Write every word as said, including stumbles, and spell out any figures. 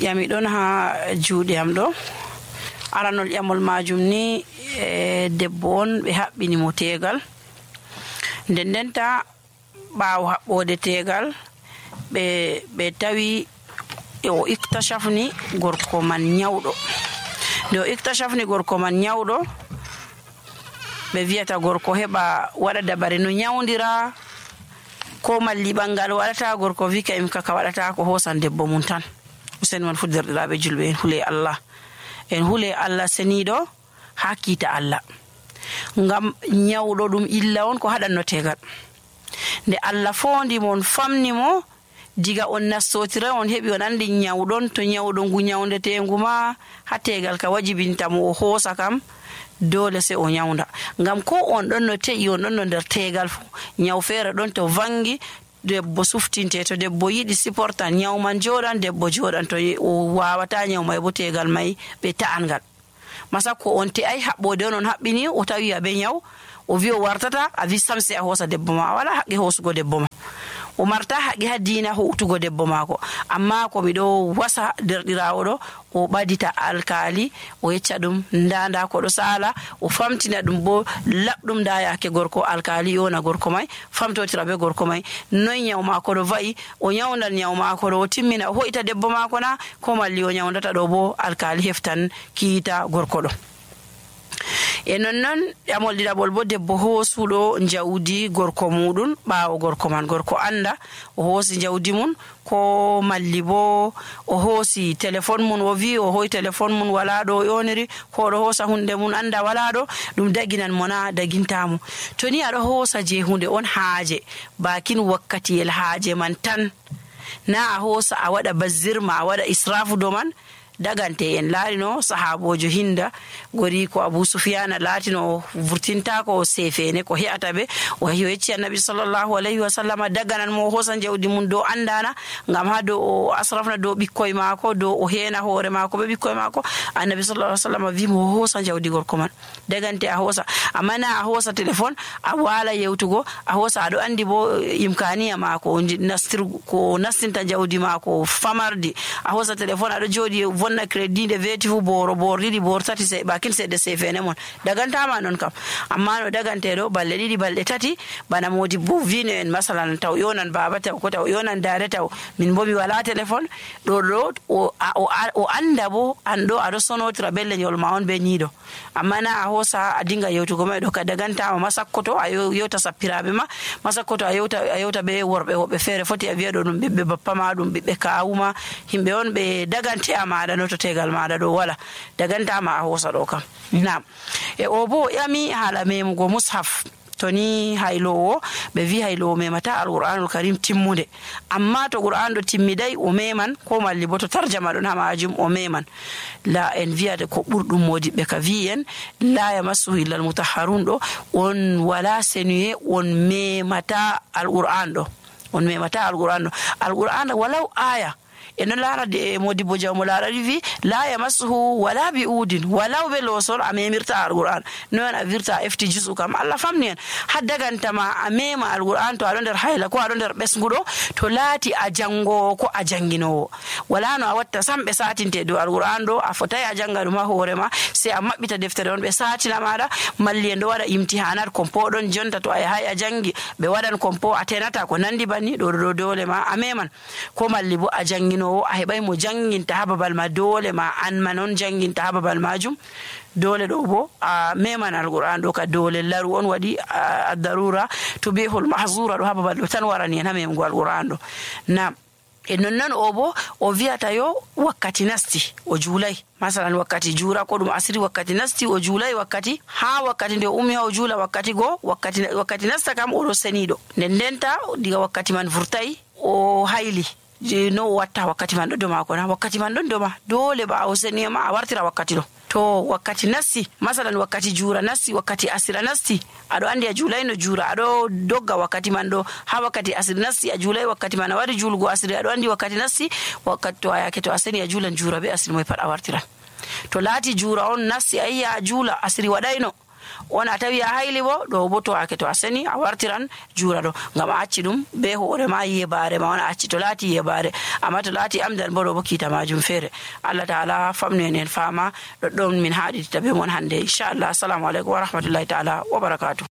ƴami ɗon ha juuɗe am ɗo. Aranol ƴamol majum ni e debbo on ɓe haɓɓini mo tegal. Nden ndenta ɓaawo haɓɓode tegal ɓe ɓe tawi o iktashafni gorko man nyawɗo. Nde o iktashafni gorko man nyawɗo, ɓe wiyata gorko heɓa waɗa dabare no nyawdira, ko malli ɓangal waɗata. Gorko wi ka im kaka waɗata ko hoosan debbo mum tan. Useni man fu derɗiraaɓe julɓe, en hule Allah, en hule Allah seniiɗo haa kiita Allah. Ngam nyawɗo ɗum illa on ko haɗanno tegal. Nde Allah fondi mon famni mo diga on nastotira on heɓi on andi nyawɗon, to nyawɗo ngu nyawdetengu ma ha tegal ka wajibinta mo o hoosa kam dole se o nyawda. Ngam ko on ɗon no te'i on ɗon no nder tegal fu, nyaw feere ɗon to vangi debbo suftinte, to debbo yiɗi siportan nyaw man joɗan, debbo joɗan, to o wawata nyaw may bo tegal may ɓe ta'angal. Masa ko on te'ai haɓɓode on on haɓɓini o tawi abe nyaw o wi o wartata, a wi sam se a hoosa debbo ma, a wala haqqi hoosugo debbo ma. O marta haqqi ha diina howtugo debbo maako. Amma ko miɗo wasa derɗirawo ɗo, o ɓadita alkali o yecca ɗum nda nda ko ɗo sala, o famtina ɗum bo laɓɗum nda yake gorko. Alkali yona gorko may, famtotira be gorko may noy nyaw maako ɗo va'i, o nyawdan nyaw maako ɗo, o timmina o hoita debbo maako na, ko malli o nyawdata ɗo bo alkali heftan kiita gorko ɗo. E nonnon ƴamol ɗiɗaɓol bo debbo hoosuɗo jawdi gorko muɗum ɓaawo gorko man. Gorko anda o hoosi jawdi mum, ko malli bo o hoosi téléphone mum, o wi o hoyi téléphone mum wala ɗo o yoniri, ko ɗo hoosa hunde mum anda wala ɗo, ɗum daginan mo na dagintamo. To ni aɗo hoosa je hunde on haaje, bakin wakkatiyel haaje man tan, na a hoosa a waɗa bazzirma, a waɗa israfu do man, dagante. En laarino sahabojo Hinda gori ko Abu Sufyana laatino vurtinta ko sefene ko he'ata be, o yecci annabi sallallahu alayhi wa sallam daganan mo hoosan jawdi mum do andana, ngam ha do o asrafna do ɓikkoye maako, do o heena hoore maako be ɓikkoye maako. Annabi sallallahu alayhi wa sallam wi mo hoosa jawdi gorko man, dagante a hoosa. Amma na a hoosa téléphone a wala yewtugo, a hoosa aɗo andi bo imkaniya maako nastir ko nastinta jawdi maako famardi, a hoosa téléphone aɗo jooɗi vonna crédit de veti fu boro bor ɗiɗi bor tati se bakin seɗɗe sefene mon dagantama non kam. Amma no daganteɗo balɗe ɗiɗi balɗe tati bana modi bo vino en masalan taw yonan baba taw ko taw yonan dade taw min bo mi wala téléphone ɗo ɗo o, o, o anda bo an ɗo aɗo sonotira be leñol ma on be niiɗo. Amma na a hoosa a dinga yewtugo ma ɗo ka dagantama. Masakkoto a yewta sappiraɓe ma, masakkoto a yewta a yewta be worɓe woɓɓe feere foti a wiya ɗo ɗum ɓiɓɓe bappa ma, ɗum ɓiɓɓe kawuma, himɓe on ɓe dagante a maɗa no to tegal maɗa ɗo wala dagantama a hoosa ɗo kam. Nam e o bo ƴami haala memugo mushaf. To ni haylowo ɓe wi haylowo memata alqur'anul karim timmude, amma to qur'an ɗo timmiday o meman, ko malli bo to tarjama ɗon ha majum o meman. La en wiyata ko ɓurɗum modiɓɓe ka wi en la yamassuhu illa almutahharun ɗo, on wala senuye on memata alqur'an ɗo, on memata alqur'an ɗo. Alqur'an walaw aya e non laara de modibo jawmo laarani wi la yamassuhu wala bi udin, walaw be losol a memirta alqur'an. Non a virta efti jusu kam Allah famni en ha dagantama a mema alqur'an to aɗo nder hayla ko aɗo nder ɓesguɗo, to laati a jangowo ko a janginowo. Wala no a watta sam ɓe satinte dow alqur'an ɗo, a fotai a janga ɗum ha hoorema, se a maɓɓita deftere on ɓe satina maɗa. Malli en ɗo waɗa imtihanat kompo ɗon jonta, to a yahay a jangi ɓe waɗan kompo a tenata ko nandi banni ɗo ɗo dole ma a meman. Ko malli bo a jangino a heɓay mo janginta ha babal ma, dole ma an ma non janginta ha babal majum. Dole ɗo bo a meman alqur'an ɗo ka dole laru on waɗi a darura to bihul mahzura ɗo ha babal ɗo tan warani en ha memugo alqur'an ɗo. Nam e nonnon o bo o wiyata yo wakkati nasti o juulay, masalan wakkati juura ko ɗum asiri wakkati nasti o juulay, wakkati ha wakkati nde o ummi ha o juula wakkati go wakkati wakkati nasta kam oɗo seniɗo. Nden ndenta diga wakkati man vurtay o hayli no o watta wakkati man ɗo do mako na, wakkati man ɗon doma dole ba o seniyama a wartira wakkati ɗo. To wakkati nasti, masalan wakkati juura nasti, wakkati asira nasti, aɗo andi a juulayno juura, aɗo dogga wakkati man ɗo ha wakkati asiri nasti a juulay wakkati man a wari juulgo asiri, aɗo andi wakkati nasti, wakkati to a yake to a seni a juulan juura be asiri moy pat a wartiran. To laati juura on nasti a yiya a juula asiri waɗayno, on a tawi a hayli bo ɗo bo to ake to a seni a wartiran juura ɗo ngam a acci ɗum be hoore ma yebare ma on a acci to laati yebare amma to laati amdan bo ɗo bo kiita majum feere. Allah ta'ala famnu en en fama ɗoɗɗon min haɗitita be mon hande inchallah. Assalamu aleykum wa rahmatullahi ta'ala wa barakatuh.